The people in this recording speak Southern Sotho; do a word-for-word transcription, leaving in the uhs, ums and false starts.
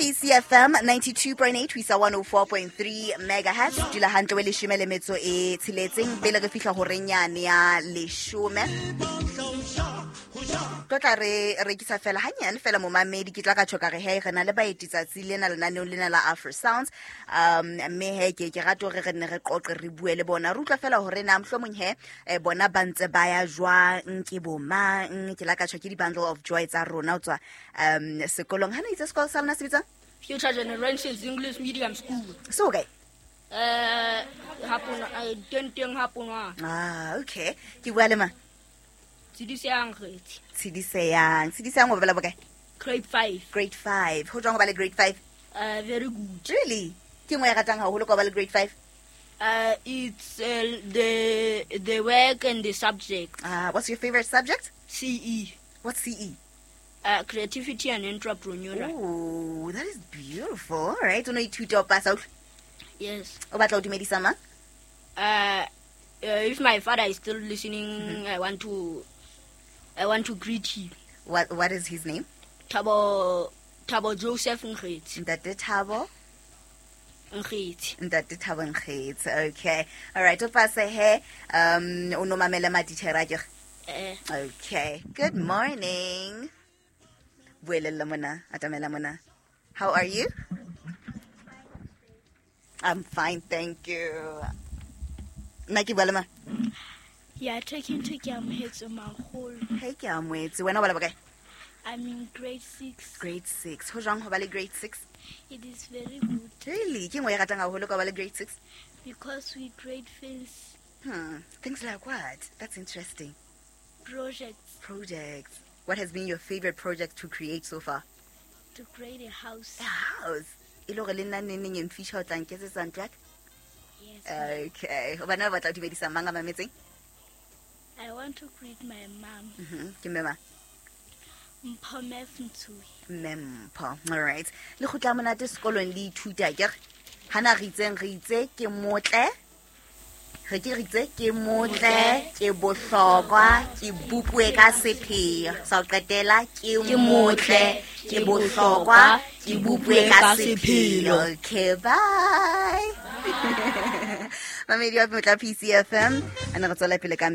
P C F M ninety-two point eight ho isa one oh four point three megahertz. Dula hantle we leshome le metso e tsheletseng pele re fihla horeng yane ya leshome. Tlo tla re rekisa fela hanyane fela momamedi, ke tla ka tjho ka re he re na le baeti tsatsi lena lenaneong lena la Afro Sounds. Um mme he ke ke rata hore re nne re qoqe re bue le bona, re utlwa fela hore na mohlomong he eh, bona ba ntse ba ya jwang, ke bo mang. Ke la ka tjho ke di-bundle of joy tsa rona ho tswa um sekolong. Ha na itse sekolo sa lona se bitsang? Future Generations English Medium School. Se ho kae? Eh, hapona, eh, teng teng hapona. Ah, okay. Ke bua le mang? Tshediseyang Kgetsi. Tshediseyang. Tshediseyang o bala bokae? Grade five. Grade five. Ho jwang ho ba le grade five? Uh, very good. Really? Ke nngwe e ratang haholo ka ho ba le grade five? Uh, it's, uh, the, the work and the subject. Ah, uh, what's your favorite subject? C E. What's C E? Uh, creativity and entrepreneurial. Oh, that is beautiful. All right. O no ithuta o pasa, utlwa? Yes. O batla ho dumedisa mang? Uh, uh, if my father is still listening, Mm-hmm. I want to, I want to greet him. What, what is his name? Thabo, Thabo Joseph Nkgetsi. Ntate Thabo Nkgetsi. Ntate Thabo Nkgetsi. Okay. All right. O pase he, um, o no mamele matitjhere akere? Eh. Okay. Good morning. Buelella mona, atamela mona. How are you? I'm fine, thank you. Nna ke bua le mang? You are talking to Keamohetswe Makgolo. Hey, Keamohetswe. Wena o bala bokae? I'm in grade six. Grade six. Ho jwang ho ba le grade six? It is very good. Really? Ke nngwe e ratang haholo ka ho ba le grade six? Because we create things. Hmm. Things like what? That's interesting. Projects. Projects. What has been your favorite project to create so far? To create a house. A house. E le hore le nna neng neng in future o tla nketsetsa ntlo ya ka? Yes. Okay. O bana ba batla ho dumedisa mang a mametseng? I want to greet my mom. Mm-hmm. Ke mme mang? Mpho Mfntui. Mme Mpho. All right. Le kgutla monate sekolong le ithuta akere? Hana re itseng re itse ke motle. Re ke re itse ke motle, ke bohlokwa, ke bopue ka sepheo. Sa ho qetela ke motle, ke bohlokwa, ke bopue ka sepheo. Okay, bye. Mamedi wa Motla P C F M. A ne re tswela pele ka